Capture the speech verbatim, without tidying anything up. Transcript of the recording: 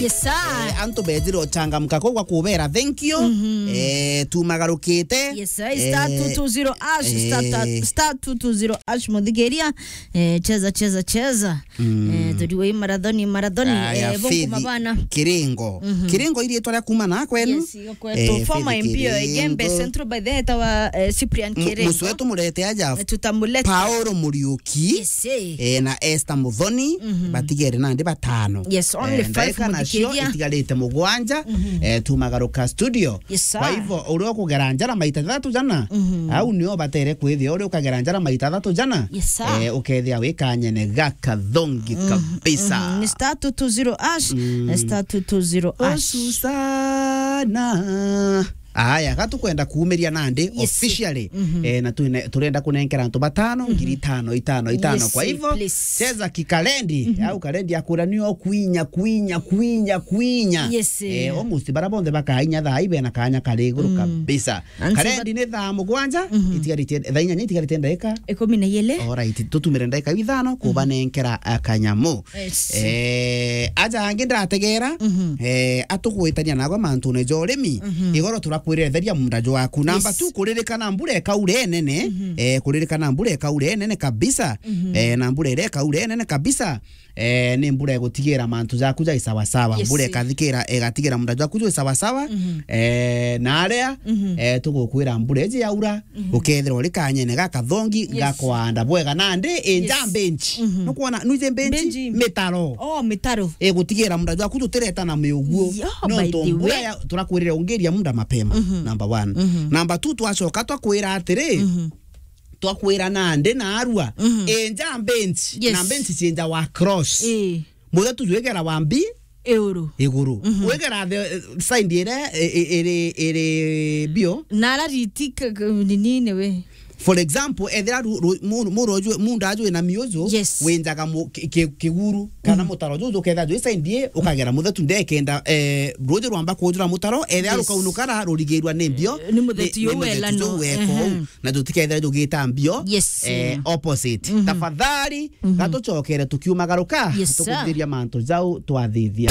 Yes, sir. Eh, antu bethire uchangamka kuu gwa kubera thank you. Eh, tumagarukite. Yes, sir. Star Eh, two two zero hash, star ta-, eh. star two two zero hash, muthikiria. Eh, cheza, cheza, cheza. Eh, turiwe marathoni, marathoni. Aya, Eh, bongo Faith mabana. Kiringo. Kiringo iria itwara kuma na kwenu. Yes, yo kwetu. Eh, former Faith M P o Igembe Kiringo. Central by the head wa, eh, Cyprian Mu-, Kiringo. Musu wetu murete aja. Eh, tutamuleta. Paolo Muriuki. Yes, eh. Eh, na Esther Muthoni. Batigere nandi batano. Yes, only Eh, five ndagika nacio muthikiria. Itigarite mugwanja. Eh, tumagaruka studio. Yes, sir. Kwa hivyo, uria ukugera njara maita jathatu jana, au nio batere kwithia uria ukagera njara maita jathatu jana. Yes, sir. Eh, ukethia wi kanyene gakathongi kabisa. Ni star two two zero hash, eh, star two two zero hash. Usu sana. Aya, gatukwenda kuumiria nandi Yes. officially. Eh, na twine-, turenda kunenkera antu batano, ngiri itano, itano, itano. Yes, Kwa hivyo, please. cheza kikalendi, au kalendi akura nio kwinya, kwinya, kwinya, kwinya. Yes. Eh, almost bara bonthe bakainya thaa ibe na kanya kari iguru kabisa. And so Kalendi ni thaa mugwanja, itigarite, thaa inyanya itigarite ndagika. Ikumi na igiri. Alright, tutumire ndagika ithano kubanenkera akanyamu. Yes. Eh, aja angi ndategera, eh, atugwitania nagwa mantune ja urimi, igoro turakwirira theria munda jwaku. Number Yes. two, kuririkana mbura ikaura inene, eh, kuririkana mbura ikaura inene kabisa, eh, na mbura iria ikaura inene kabisa, eh, ni mbura igutigira mantu jaku jai sawa sawa. Yes. Mbura ikathikira, igatigira munda jwaku jwi sawa sawa, eh, na aria, eh, tugukwira mbura iji yaura, ukethirwa uri kanyene gakathongi Yes. gakwanda bwega nandi inja Yes. bench. Nukwona, nwije bench? Bench. Mitaro. Oh, mitaro. Igutigira munda jwaku tutireta na miuguo. Yeah, by Nontu the mbura way. ya, turakwirire ungiria munda mapema. Number one. Number two, twacoka twakwira atiri, twakwira nandi na arua, inja bench. Yes. Na bench cienja wa cross. Eh. Muthe tujwegera wa mbi, Iguru. Iguru. Wegera the, eh, side ire, eh, eh, iri, iri bio. Na ara riti k-, k-, nini ni we. For example, ethira ru-, ru-, mu-, muro ju-, munda aju ina miuju, Yes. winjaga mu-, ki-, ki-, kiguru, kana mutaro juju, ketha ju side ye, ukagera muthetu ndekenda, eh, ruju rwamba kujura mutaro, ethira Yes. rukaunukara rurigirwa ni mbio, Eh, ni muthetu ni, ni yu muthetu welano. ju weko Ehe. uu, na jutikethira jugita mbio, Yes. eh, opposite. Tafadhali, gatucokere tukiumagaruka, Yes, sir. tukuthiria mantu jau twathithia.